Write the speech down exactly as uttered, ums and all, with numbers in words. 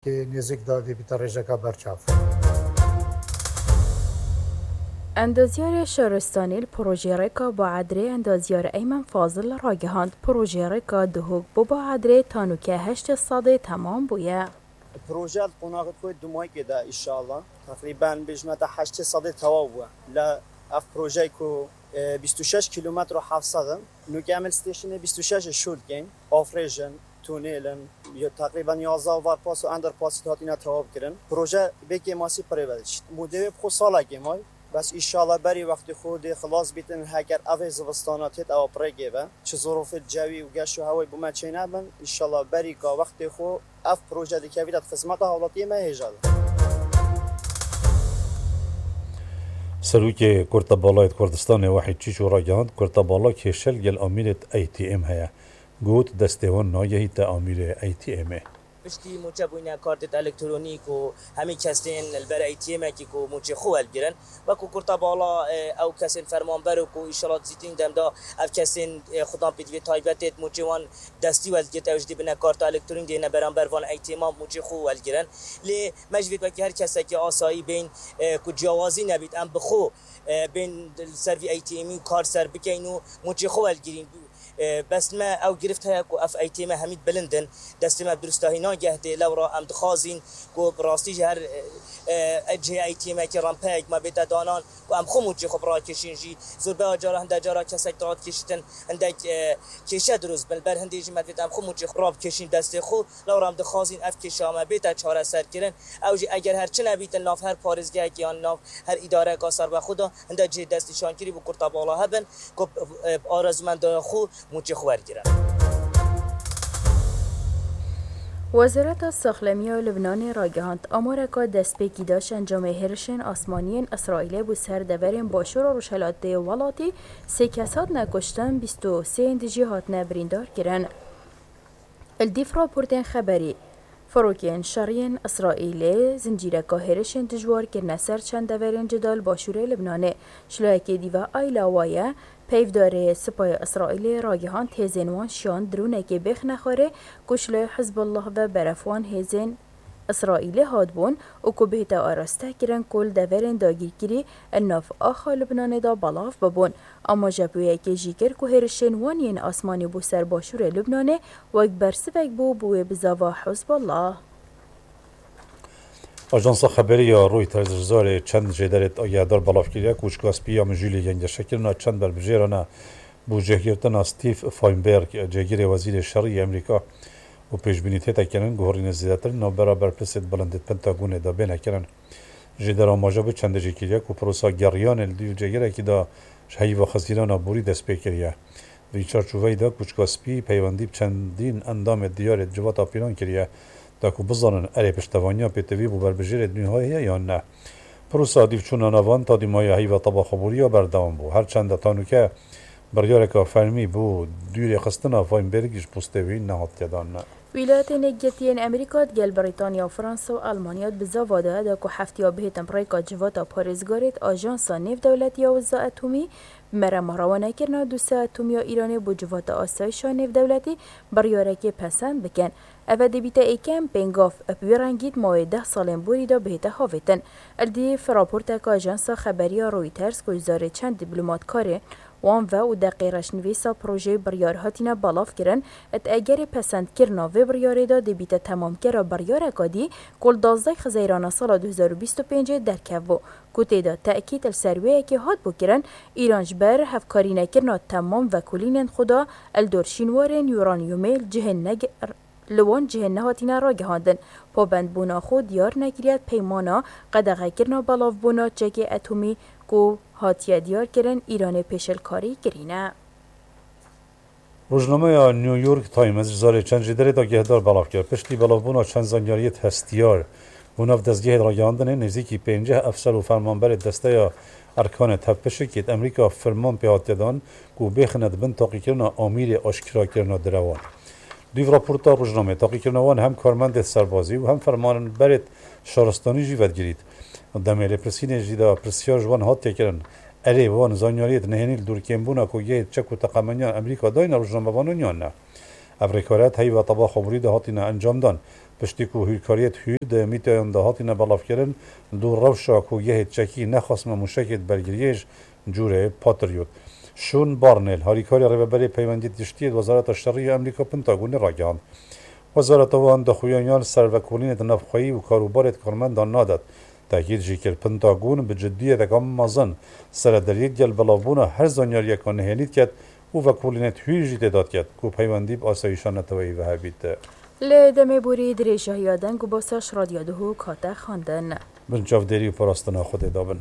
Nêzîk de dê bîte rêjeka berçav. Endazyarê şaristanî li projeyê rêka Baedrê endazyar Eymen Fazil ragihand, projeyê rêka Duhok bo Baedrê tanûke heştê sedê temam bûye. Proje li qonaxê xwe dumayîkê de, înşallah. Teqrîben bêjme te heştê sedê tewaw bûye. Li ev projeyê ku, e, bîst û şeş kîlometr û heft sed in. Nûke em li stêşinê bîst û şeş şûl dikeyn. Afrêj in, tunêl in, ya teqrîben yazdeh overpass û underpass hatine tewav kirin. Proje bê kêmasî pirê ve diçît. Mûdê wê bi xwe salekê may. Bes înşallah berî wextê xwe dê xilas bîtin, heger ev ê zivistana têt ewa pirêkê ve. Çi zorofê cewî û geş û hewayî bo me çênebin, înşallah berî ka wextê xwe ev proje dikevîte di xizmeta hawlatiyê me hêja de. Serokê Kurtebalayê Kurdistanê Wahîd Çîço ragihand, Kurtebala kêşe li gel amîrê A T M heye. Got, destê wan nagehîte amîrê A T M'ê. Piştî mûçebûyîna kartêt elektronîk û hemî kesên li ber A T M'ekî ku mûçê xwe welgirin, wekû Kurtebala, e, ew kesên fermanber û ku îşalat zîtîn dem da ev kesên, e, xudan pêdivê taybetêt mûçê wan destî welgirt, ew jî dê bine karta elektronîk dê ne beramber van A T M'an mûçê xwe welgirin. Lê me jî vêt wekî her kesekî asayî bên, e, ku ciyawazî nebît, em bi xwe, e, bên li ser vî A T M'î kar ser bikeyn û mûçê xwe welgirîn. E, bes me ew girift heye ku ev A T M hemî bilind in, destê me bi durustahî nageh dê, lewra em dixwazîn ku bi rastî ji her, e, e, cihê A T M'ekê rempeyek me bête danan ku em xwe mûçê xwe birakêşîn jî. Zorbeya cara, hinde cara kesek dirakêşitin, hindek, e, kêşe dirust bin. Li ber hindê jî me divêt em xwe mûçê xwe rabikêşîn destê xwe. Lewra em dixwazîn ev kêşa me bête çareserkirin. Ew jî eger her çi nebîtin nav her parêzgehekê yan nav her îdareyeka serbexwe de hinde cihê destnîşankirî bo Kurtebala hebin ku, e, bi arezûmendaya xwe mûçê xwe wergirin. Wezareta Saxlemiya Lubnanê ragihand, amareka destpêkî da ji encamê hêrişên asmanî yên Îsraîlê bo ser deverên başûr û rojhilatê welatî sê kes hatine kuştin, bîst û sê yên dijî hatine birîndar kirin. Li dîv raportên xeberî, firokên şerî yên Îsraîlê zincîreka hêrişên dijwar kirine ser çend deverên cuda li başûrê Libnanê. Ji layekê dî ve Ayla Waye, peyvdarê Sipayê Îsraîlê ragihand, hêzên wan şiyan dronekê bêxne xwarê ku ji layê Hizbullah ve berefwan hêzên Îsraîlê hatibûn û ku bihête araste kirin ku li deverên dagîrkirî li nav axa Libnanê de belav bibûn. Amaje bi wê yekê jî kir ku hêrişên wan yên asmanî bo ser başûrê Libnanê wek bersivek bû bo wê bizava Hizbullah. Ajansa xeberî ya Reuters ji zarê çend jêderêt agehdar belav kiriye ku Kûçika Spî ya Mijûlê gengeşekirina çend berbijêran e bo cihgirtina Steve Feinberg, cêgirê Wezîrê Şerî yê Amerîka û pêşbînî tête kirin guherînê zêdetir navbera berpirsêt bilind ê Pentagonê de bêne kirin. Jêder amaje bi çendê jî kiriye ku pirosa geriyanê li dîv cêgirekî de ji heyva xizgîrana borî dest pê kiriye. Di vî çarçoveyê de Kûçika Spî peywendî bi çendîn endamê diyarê civata pîlan kiriye, da ku bizanin erê piştevaniya pêtivî bo berbijêrê nû heye yan ne. Pirosa dîvçûna navan ta dîmaya heyva tebaxeboriya berdewam bû. Her çend e ta nûke biryareka fermî bo dûrê xistina Feinberg ji postê wî nehatiye dan. Wîlayetên Yekgirtî yên Amerîka digel Brîtanya, Fransa û Elmanya di bizava de ye da ku heftiya bihêtin bi rêka civata parêzgarê di Ajansa Nêvdewletî ya Wiza Atomî bi merema rewanekirina dosya atomî ya Îranê bo civata asayişa nêvdewletî biryarekê pesend bikin. Eve dê bîte êkem pêngav bi wî rengî di mawê deh salên borî de bihête havêtin. Li dîv raporteka ajansa xeberiya Reuters ku ji zarê çend dîplomatkarê wan ve û deqê reşnivîsa projeyê biryar hatine belav kirin, di egerê pesendkirina vê biryarê de dê bîte temamkera biryareka dî ku li duwazdeh Xezeyrana sala du hezar û bîst û pêncê derkevbû, ku tê de tekîd li ser wê yekê hatibû kirin, Îran ji ber hevkarînekirina temam vekolînên xwe de li dor şînwarên uranyumê li cihên neg-, li wan cihên nehatine ragihandin, pabendbûna xwe diyar nekiriye di peymana qedexekirina belavbûna çekê etomî ku hatiye diyarkirin Îranê pêşilkarî kirîne. Rojnameya New York Times ji zarê çend jêderêt agehdar belav kir. Piştî belavbûna çend zanyariyêt hestiyar bo nav dezgehê ragihandinê, nêzîkî pênceh efser û fermanberê desteya Erkanê Tevpişikê di Amerîka firman pê hatiye dan ku bêxine di bin taqîkirina amîrê aşkirakirina direwan. Dûv raporta rojnamê, taqîkirina wan hem karmendê serbazî û hem fermanberê şaristanî jî vedigirît. Demê lêpirsînê jî de pirsiyar ji wan hatiye kirin, erê wan zanyariyêt nehênî li dor kêmbûna kogehê çek û teqemeniya Amerîka dayne rojnamevanan yan ne? Ev rêkariya di heyva tebaxa borî de hatine encamdan. Piştî ku hûrkariyê di hûr di mîteyan de hatine belavkirin, li dû rewşa ku yehê çekî nexwestme mûşekê di bergiriyê ji cûrê Patriot. Şûn Barnêl, harîkarê rêveberê peywendiyê giştî yê di Wezareta Şerî ya Amerîka Pentagonê ragihand. Wezareta wan daxuyaniyên li ser vekolînê di navxweyî û karûbarê di karmendan nadet. Tekîd jî kir Pentagon bi ciddiyeteke mezin serederî digel belavbûna her zanyariyeka nihênî diket û vekolînê di hûr jî tê dadiket ku peywendî bi asayîşa neteweyî ve hebît. Li demê borî dirêjahiya deng û basa ji Radyo Duhok hate xwendin. Bin çavdêrî û parastina Xwedê dabin.